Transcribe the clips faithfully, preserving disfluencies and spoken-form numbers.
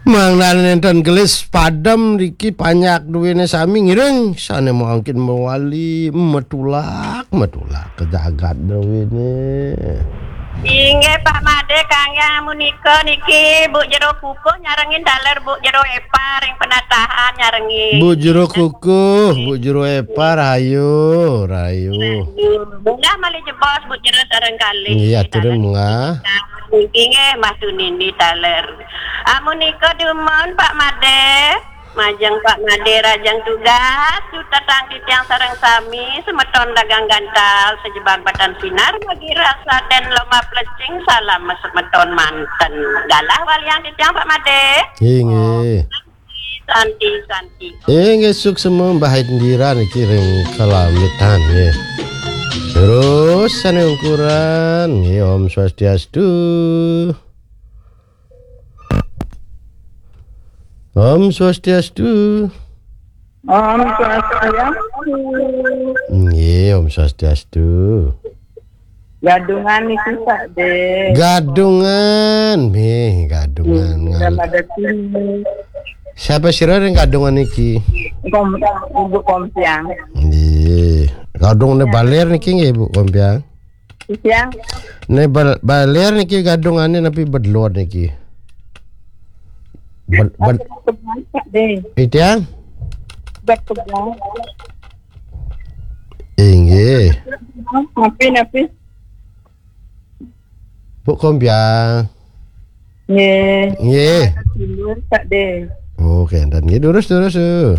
Mangda nénten gelis padem niki, panjak duéné sami, ngiring sané mangkin mawali, metulak, metulak ka jagat duéné. Inggih, Pak Madé, kanggé amunika niki Bu Jero Kukuh nyarengin taler Bu Jero Épa ring penatahan nyarengin. Bu Jero Kukuh, Bu Jero Épa, rahayu, rahayu. Munggah malih jebos Bu Jero sareng kalih. Nggih, aturin munggah. Niki nggih, Mbah Tunindi taler. Amunika dumun, Pak Madé. Majeng Pak Madé, rahajeng tugas, sutetang titiang sareng sami, semeton dagang gantal, sajebag batan sinar, magi rasa den lomah plecing, salam semeton manten. Galah waliang titiang, Pak Madé. Inggih. Santi, santi. Inggih, suksma Mbah Indira niki ring kalamitan, nggih. Terus sané ungkuran, nggih, Om Swastiastu. Om Swastiastu. Om Swastiastu. Nggih, Om Swastiastu. Gadungan niki, Pak Dé. Gadungan, nggih, gadungan. Hmm, ngal- ada sini. Siapa sira ring gadungan niki? Kom-, Ibu Kompiang. Nggih. Gadungan baler niki nggih, Bu Kompiang? Siang. Né bal-, baler niki gadungané napi bedluar niki? Bed-, bed-, Pak Dé. Itiang? Bed pegang. Inggih. Napi, napi? Bu Kompiang. Nggih. Nggih. Tidur, Pak Dé. Oh, kénten. Nggih, durus, durus, uh.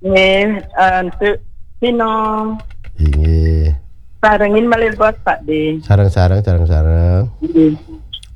Nggih, eh, untuk Pino. Inggih. Sarengin malih bos, Pak Dé. Sareng-sareng, sareng-sareng. Nggih.